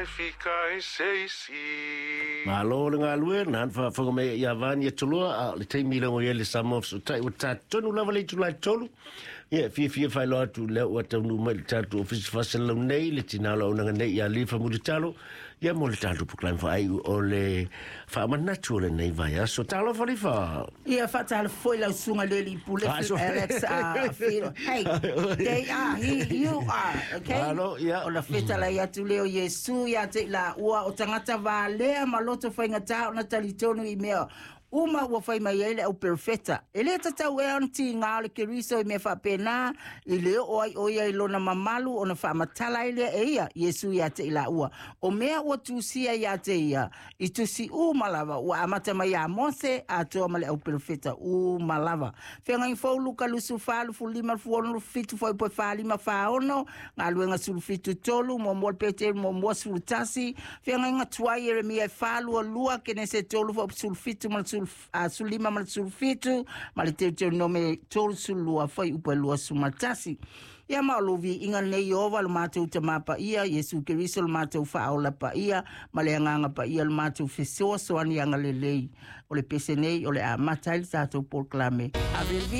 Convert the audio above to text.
Fika i se isi. Malo le galue, na han faafofoga mai ia Vani Atuloa, a o le taimi lea ua i ai le Samoa Fesootai ua ta tonu lava le itula e 3. Ia, e fiafia faailoa atu lea ua taunuu mai i le tatou Ofisa Faasalalau nei le tina o le auaunaga nei ia Lifa Mulitalo, ia mo le tatou polokalame faaiu o le faamanatu o lenei vaiaso. Talofa Lifa! Ia faatalofa foi lau susuga i le alii pule Ah, so- Alex Filo. Hey, they are, he, you are, okay? Alo, ia. O le fetalai atu lea o Iesu ia te i laua o tagata valea ma loto faigata ona talitonu i mea uma ua fai mai ai le au perofeta. E le tatau ea ona tiga o le Keriso i mea faapena, i le oo ai o ia i lona mamalu ona faamatala ai lea e ia Iesu ia te i laua. O mea ua tusia ia te ia, i tusi uma lava, ua amata mai ia Mose, atoa ma le au perofeta uma lava. Feagaiga Fou Luka 24, 25, 26, 27, fuaiupu e 45, 46, Galuega 17, 3, Muamua le Peteru muamua 11, Feagaiga Tuai Ieremia e 4, 22, Kenese 3, fuaiupu 17 ma le 15 ma le 17, ma le Teuteronome 32, fuaiupu e 21. Ia ma o lou viiga lenei Ieova lo matou Tamā Paia, Iesu Keriso lo matou Faaola Paia, ma le Agaga Paia lo matou Fesoasoani Agalelei. O le pese nei o le a amata ai le tatou polokalame. Ave le viiga.